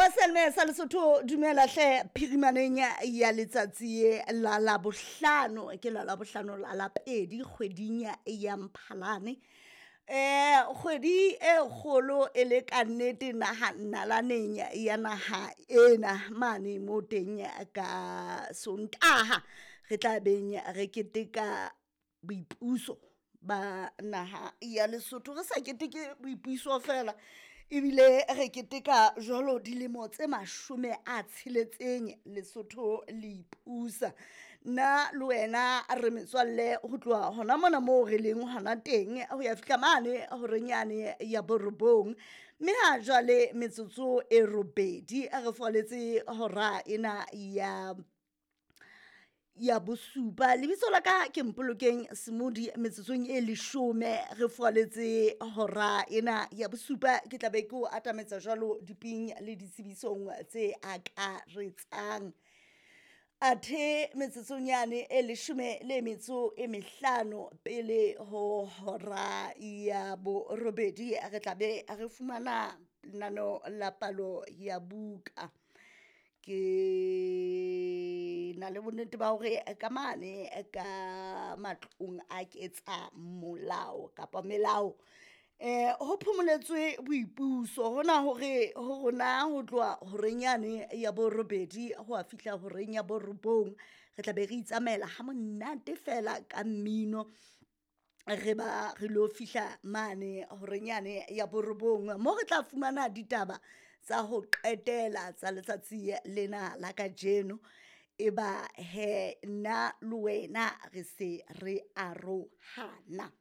Wa selme sa Lesotho, dumela hle phirimaneng ya letsatsi la Labohlano. Ke la Labohlano la lapedi kgweding ya Mphalane, kgwedi e kgolo e le ka nnete naha nalaneng ya naha ena mane mo teng. Ka Sontaha re tla beng re keteka boipuso ba naha ya Lesotho. Re sa keteke boipuso fela, ebile re keteka jwalo dilemo tse 60 Lesotho le ipusa. Nna le wena re metswalle ho tloha hona mona moo re leng hona teng ho ya fihla mane horeng yane ya borobong. Mme ha jwale metsotso e 8 re foletse hora ena ya bosupa. Lebitso la ka ke Mpolokeng Semodi. Metsotsong e 10 re foaletse hora ena ya bosupa, ke tla be ke o atametsa jwalo diping le ditsebisong tse akaretsang. Athe metsotsong yane e 15 pele ho hora ya borobedi, re tla be re fumana lenaneo la palo ya buka. Ke na le bonnete ba hore ka mane ka matlong a ketsa molao kapa melao, ho phomoletswe boipuso hona hore ho rona ho tloha horeng yane ya borobedi ho a fihla horeng ya borobong, re tla be re itsamaela ha monate fela ka mmino. Re ba re lo fihla mane horeng yane ya borobong mo re tla fumana ditaba tsa ho qetela tsa letsatsi lena la kajeno. Eba he nna le wena re se re arohana.